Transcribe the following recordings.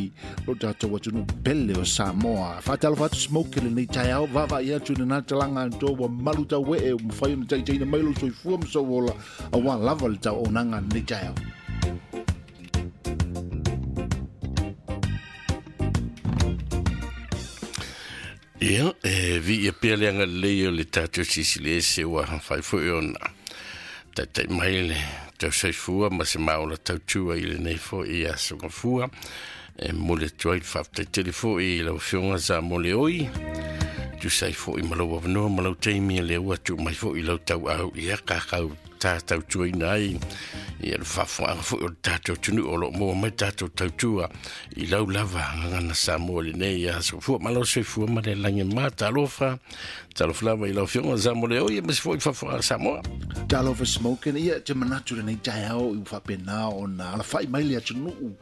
ai lo tatou atunuu pele o Samoa. Faatalofa atu Smoke i lenei taeao, vaavaai atu i lena talaga atoa ua malu tauee ua mafai ona taitaiina mai lou soifua ma sou ola aua lava le tauaunaga i lenei taeao. Ia, e viia pea le agalelei o le tatou Silisili Ese ua mafai foi ona taitai mai le tausoifua ma se maola tautua i lenei foi aso gafua. E momoli atu ai le faafetai tele foi i lau Afioga Sa Moleoi, tusa ai foi ma lou avanoa ma lau taimi o lea ua tuu mai foi i lau tauau ia kakau ta tautuaina ai ia le faafofogaaga foi o le tatou atunuu o lo o maua mai tatou tautua i lau lava gagana Samoa i lenei aso fua. Malo soifua ma le lagi ma talofa, talofa lava i lau Afioga Sa Moleoi aemaise foi le faafofogaaga Samoa. Talofa Smokin, ia te manatu lenei taeao i ua faapena ona alafai mai le atunuu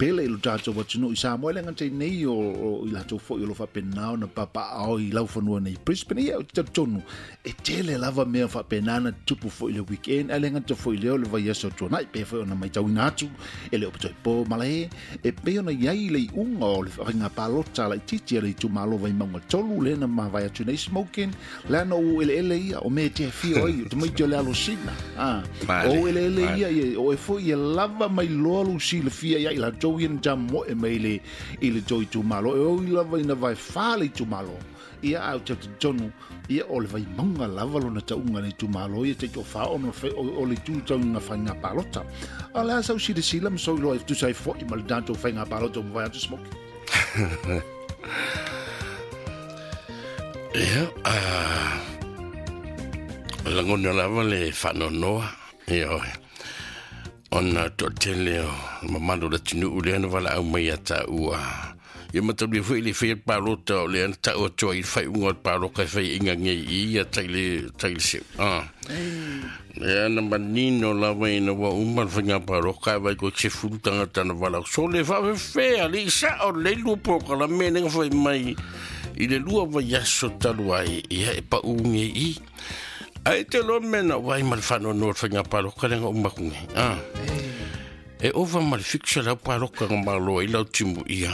pele i lo tatou atunuu i Samoa, e le gata i nei o i latou foi o lo faapena ona papaaao i laufanua nei i Brisbane. Ia, ou te talitonu e tele lava mea faapena na tupu foi i le weekend, ae le gata foi i lea o le vaiaso tuanai, pei foi ona matauina atu e le o toe po malae e pei ona i ai le iuga o le faiga palota laitiiti a le itumalo Vaimauga 3 lea na mavae atu nei Smokin, leaga o eleele ia o mea e te afio ai o tamaiti o le alosina. O eleele ia, ia o e foi ia lava mai loa lou silafia ia i latou ia na tamoe mai le i le tou itumalo, e oi lava ina vae fa le itumalo ia, ae ou te talitonu ia o le Vaimauga lava lona tauga le itumalo ia taitoafa ona o le itu tau i ngā faiga palota. A o le a sau silasila ma sou iloa e tusa ai foi ma le tatou faiga palota ua mavae atu Smoky? Ia, lagona lava le faanoanoa, ioe, ona toatele o mamalu o le atunuu lea na valaau mai ia taua. Ia matalia foi le faia le palota o lea na tau atu ai le faaiuga o le paloka e fai inga nei i ia tai le tai le seu. Lea na manino lava ina ua uma le faiga paloka e vai koe se fulu tagata na valaau. So le faafefea le i sao lelei lua polokalame lea na fai mai i le lua vaiaso talu ai, ia e pau nei i. Ae te loa mea na vaai ma le faanoanoa o le faiga paloka lea na uma atu nei. E ova ma le 700 paloka na malo ai lau timu ia.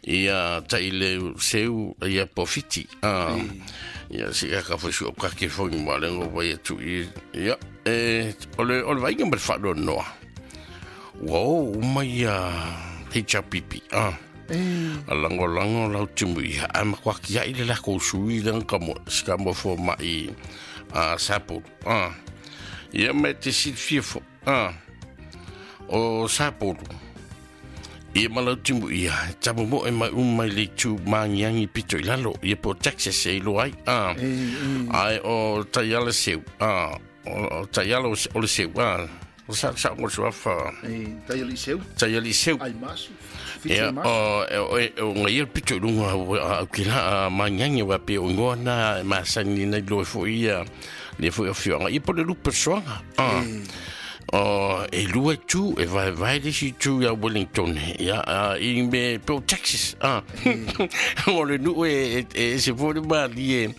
Ia tai le seu ia po fiti. Ia si ka foi su ka ke foi ma le ngo vai atu i. Ia e o le vaaiga ma le faanoanoa. Ua o uma ia HRPP. A langolango lau timu ia. Ae matua kiai le lakou sui le ka mo ska mo fo mai a Sapolu. Ia me te silafia fo. O Sapolu. Ia ma lau timu ia, tamo mo e mai uma mai le itu mangiangi pito i lalo, ia po Texas e iloa ai. Ai o Taiala seu, o Taiala o le seu, o sa sa mo suafa. Taiala i seu. Taiala i seu. Ai masu. Ia, o o ngai ia pito i lunga au ki la mangiangi wa pe o ngoa na e masani nei loe foi ia le foi o fioanga. Ia po le lupe soanga. O e lua tu e vai vai le si tu ia Wellington ia i me po Texas o le nu e e se foi ma li e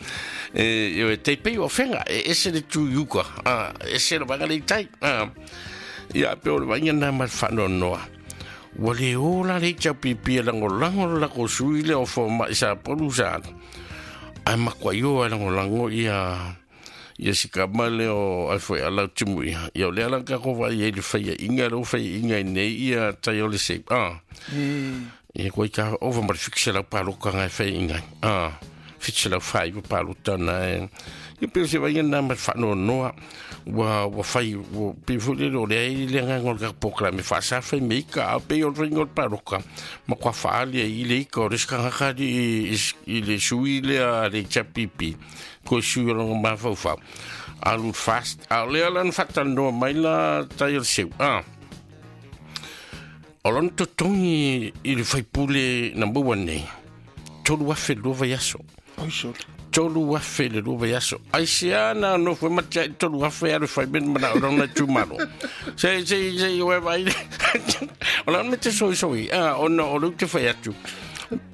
e te pe o fenga e ese le tu yuka ese le vanga le tai ia pe o le vanga na ma fa no noa ua le ola le HRPP e langolango le lako sui le o fo mai sa polu sa ai makua ioa e langolango ia ia sikama le o ai foi ala timu ia. Ia o le ala ka ko vai e le whaia inga, le o whaia inga i nei ia tai o le se. Ia koe ka ova ma le fikse lau paloka ngai whaia inga. Fikse lau whai wa palota na e. Ia peo se vai nā ma whanoanoa. Ua whai, ua pe foi le o le ai le ngā ngol ka pokla me whaasa whai me ika a pe o le ngol paloka. Ma kua whaali i le ika o reska ngakari i le sui le a le chapipi. Ko sui o longa mawhauwhau. Alu fast. A o lea lan whatanoa mai la tai o le seu. O lona totongi i le whaipule number 1 nei. 3,000 lua vaiaso. Oi sole. 3,000 le lua vaiaso. Ai se ana no fue matia i 3,000 alu whai men mana o rona tūmaro. Se, se, se, oe vai. O lana me te soi soi. Ona o leu te whai atu.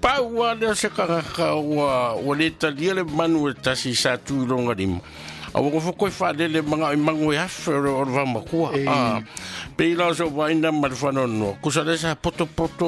Pau a lea se kangaka ua le talia le manu e tasi sa tū i longa lima. A ua ngofo koe whaalele manga i mango e afe o le vamakua. Pe i lao so waina ma le whanoanoa. Kusa le sa poto poto